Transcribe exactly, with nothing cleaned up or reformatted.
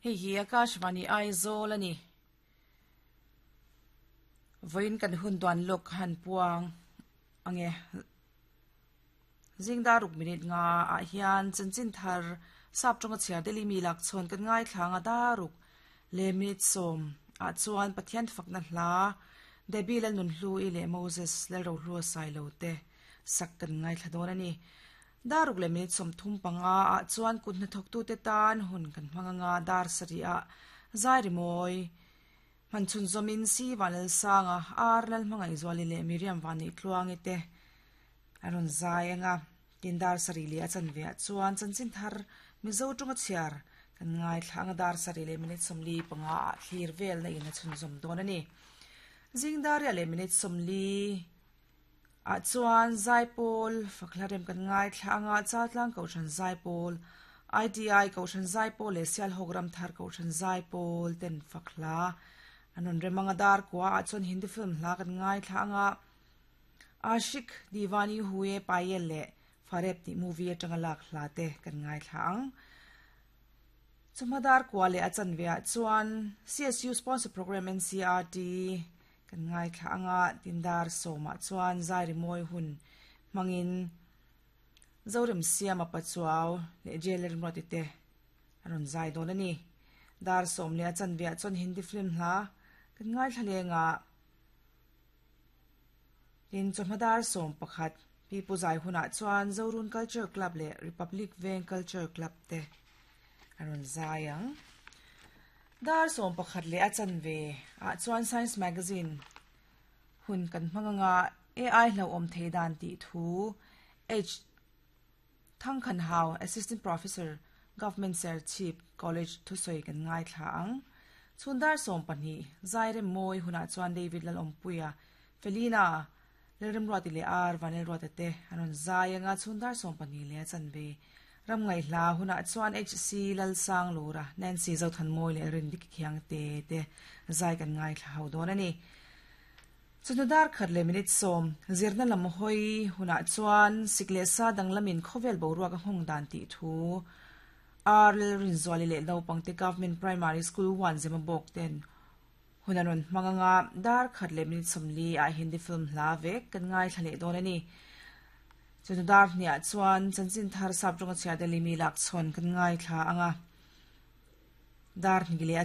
Hei hi Akashvani Aizawl ani. Voin kan hun duan lok han puang ange zingdar ruk minute nga ah hian chanchin thar sap tonga chhiar deli mi lak chhawn kan ngai thlanga daruk le minute sawm ah chuan Pathian fakna hla Debbie lal nun hlu i le Moses lal ro hlu sai lo te sak kan ngai thla dawn ani. Daruk le minute sawm thum panga ah chuan kut hnathawk tu te tan hun kan hmanga dar sari ah zai rimawi manchun zomin si vanal sanga ar lal hmangai zuali le Miriam wani tluangi te aron zai anga tindar sari le a chan ve chuan chanchin thar mizo tonga chhiar kan ngai thlanga dar sari le minute sawmli panga ah thlir vel na in a chhun zawm dawn ani. Zingdar le minute sawmli a chuan zaipawl fakhlarem kan ngai thlanga chaltlang kohhran zaipawl I T I kohhran zaipawl le sial hawk thar kohhran zaipawl ten fakhla anon remanga dar kwa a chuan Hindi film hla kan ngai thlanga Ashik Diwani Huye Payel le Fareb ti movie atanga lak hla te kan ngai thlang chumadar kwa le achan ve chuan C S U sponsor program N C R T kan ngai thlanga tindar soma chuan zai moi hun mangin zorem siama pachuaw le jeler roti te aron zai don ani. Dar som le achan ve chuan Hindi film hla kan ngai thlalenga tin chawhmadar som pakhat pi puzai huna chuan Zorun Culture Club le Republic Veng Culture Club te aron zaiang. Dar som pakhat le achan ve a chuan Science Magazine hun kan hmanga A I hlo om theidan ti thu H Thang Khan Hau Assistant Professor Government Serchhip College thusoi kan ngai thla ang. Chundar som pahnih zaire moi huna chuan David lal ompuia Felina lerem ruati le ar vanel ruate te anon zaianga chundar som pahnih le chan ve ram ngai hla huna chuan H C lal sang lura Nancy zo than moi le rin dik khiang te te zai kan ngai thla ho don ani. Chundar khat le minute som zirna lam hoi huna chuan sikle sa danglamin khovel boruak hong dan ti thu R rin zwali le naupangte Government Primary School one Zemabawk ten hunaron hmanganga dar khat le minute sawmli a Hindi film hla vek kan ngai thlale dawn ani. Chundar hnia chuan chanchin thar sap tonga chhiar deli mi lak chhawn kan ngai thla anga dar hni le